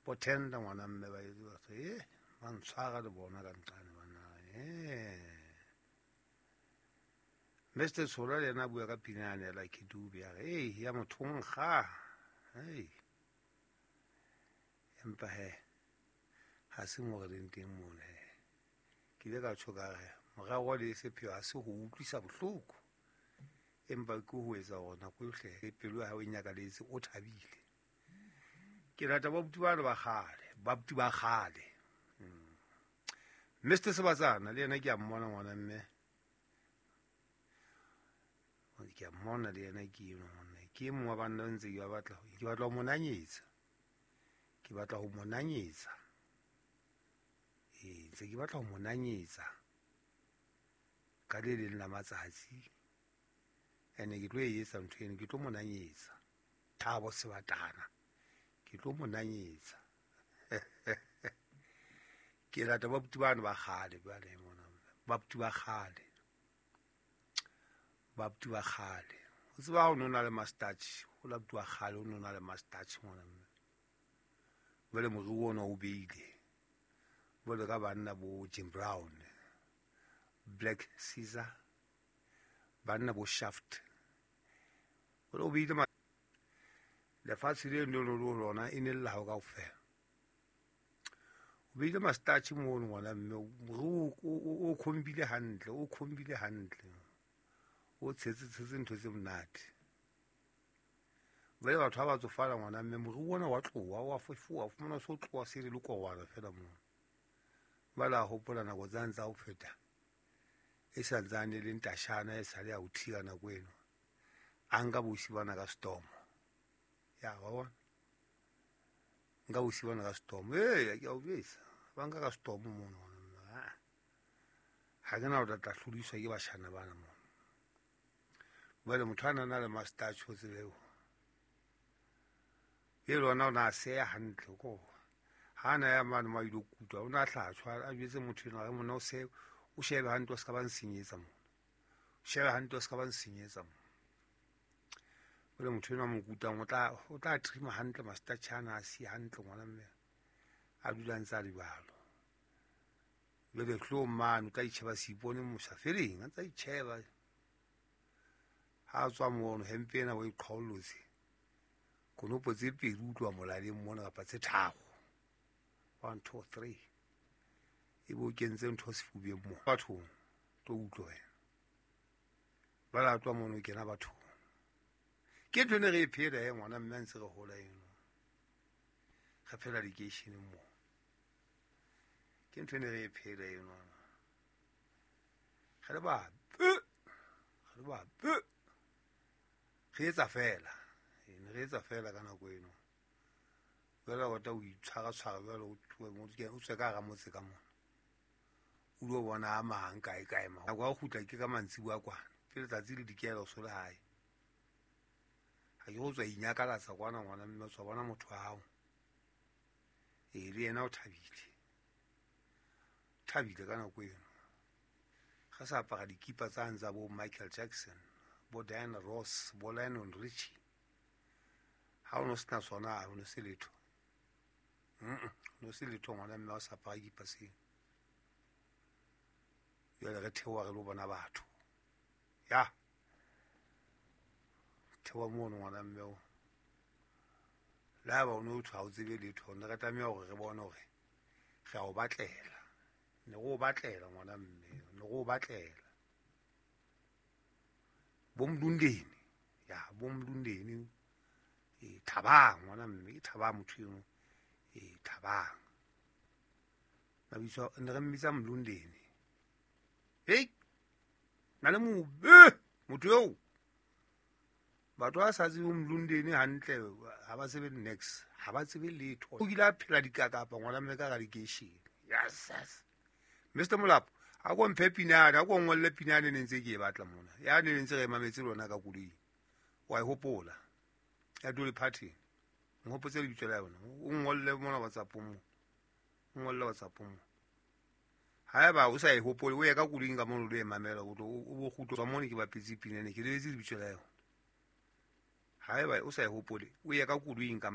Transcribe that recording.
Bo tender ngwana mme ba etse batho e ba ntshwara le bona ka nqane bana Mr. Tshola le yena a bua ka pina yane ya Lucky Dube ya re ei ya motho nkga ei empa he ha se mo re leng teng mona he ke ile ka tjho ka re morero le sepheo ha se ho utlwisa bohloko empa ke ho etsa hore nako yohle pelo ya hao e nyakaletse o thabile. Ke rata babuti bano ba kgale, babuti ba kgale. Mr. Sebatsana le yena ke a mmona ngwana mme. Ke a mmona le yena ke eno ngwana. Ke e mong wa banna ntse ke ba batla, ke batla ho mo nanyetsa. Ke batla ho mo nanyetsa. Ee, ntse ke batla ho mo nanyetsa. Ka le leng la matsatsi. Ene ke tlo e etsa ntho eno, ke tlo mo nanyetsa. Thabo Sebatana. Ke tlo mo nanyetsa. Ke rata babuti bano ba kgale jwale mona. Babuti ba kgale. Babuti ba kgale. O tseba ha o no na le mastach, o la buti wa kgale o no na le mastach mona. Jwale moriri ona o beile. Jwale ka banna bo Jim Brown, Black Caesar, banna bo Shaft. Jwale o beile lefatshe le le lo lona e ne le la hao kaofela. O beile mastach mono ngwana mme o khombile hantle, o khombile hantle. O tshetse tshetse ntho tse monate. Jwale batho ha ba tsofala ngwana mme moriri ona wa tloha, wa fefowa, o fumana so tloha se le lekorwana fela mono. Jwale a hopola nako tsane tsa ho feta. E sa ntsane le ntashana e sale ya ho thika nako eno. A nka bosi bana ka stomo. Ya wa bona. Nka bosi bana ka stomo. Ee, ke a o jwetsa. Ba nka ka stomo mono. Ha ke na ho tla hlodiswa ke bashana bana mono. Jwale motho a nana le mastach o tsebe. E lona o na seya hantle ko. Ha na ya mane ma ile kutwa, o na hlatshwa a jwetse motho ena re mona o se o shebe hantle o ska ba nsenyetsa mona. Shebe hantle o ska ba nsenyetsa mona. Jwale motho ena mo kutang o tla trima hantle mastach ana a si hantle ngwana mme. A dula ntse a le jwalo. Jwale tlo mane o tla itjheba seipone mosafereng, a ntsa itjheba. Ha tswa mono hempe ena o e qhaollotse. Konopo tse pedi utlwa molaleng mona kapa tse tharo. 1 2 3. E bo kentse ntho sefubeng mo. Bathong tlo utlwa wena. Ba la tswa mono kena bathong. Ke ntho ne re e phela e ngwana mme ntse re hola eno. Re phela lekeisheneng mo. Ke ntho ne re e phela eno. Re le ba re ba re etsa fela. Ne re etsa fela ka nako eno. Jwale o tla o itshwara tshwara jwale o tswe ka hara motse ka mona. O lo bona a mang kae kae ma. Nako ya ho kgutla ke ka mantsiboya kwana. Pele letsatsi le dikela o so le hae. Ha ke go tswa inyakalatsa kwana ngwana mme o tswa bona motho wa hao. Ee, le yena o thabile. Thabile ka nako eno. Ga sa apara dikipa tsa ntsa bo Michael Jackson, bo Diana Ross, bo Lionel Richie. Ha o no sena sona, o no se letho. No se letho ngwana mme o sa apara kipa seo. Jwale re theoha re lo bona batho. Ya. Theoha mono ngwana mme o. Le haeba o no thwa o tsebe letho, ne re tlameha hore re bone hore re a o batlela. Ne re o batlela ngwana mme, ne re o batlela. Bo Mlundeni. Ya, bo Mlundeni. E Thabang ngwana mme, ke Thabang motho eno. E Thabang. Mabitso ne re mmitsa Mlundeni. Hey! Na le mobe motho eo. Batho ba sa tsebe Mlundeni hantle, ha ba tsebe next, ha ba tsebe letho. O kile a phela dikakapa ngwana mme ka lekeishene. Yes, yes. Mr. Molapo, a ko mphe pinane, a ko ngolle pinane ne ntse ke e batla mona. Ya ne ntse re mametse lona ka koloing. Wa e hopola. Ya Dolly Parton. Nghopotse lebitso la yona. O ngolle mona WhatsApp mo. O ngolle WhatsApp mo. Haeba o sa e hopole, o ye ka koloing ka mono lo e mamela, o tlo o bo kgutlo tswa mone ke bapetse pinane, ke lebetse lebitso la yona. Haeba o sa e hopole, o ye ka koloing ka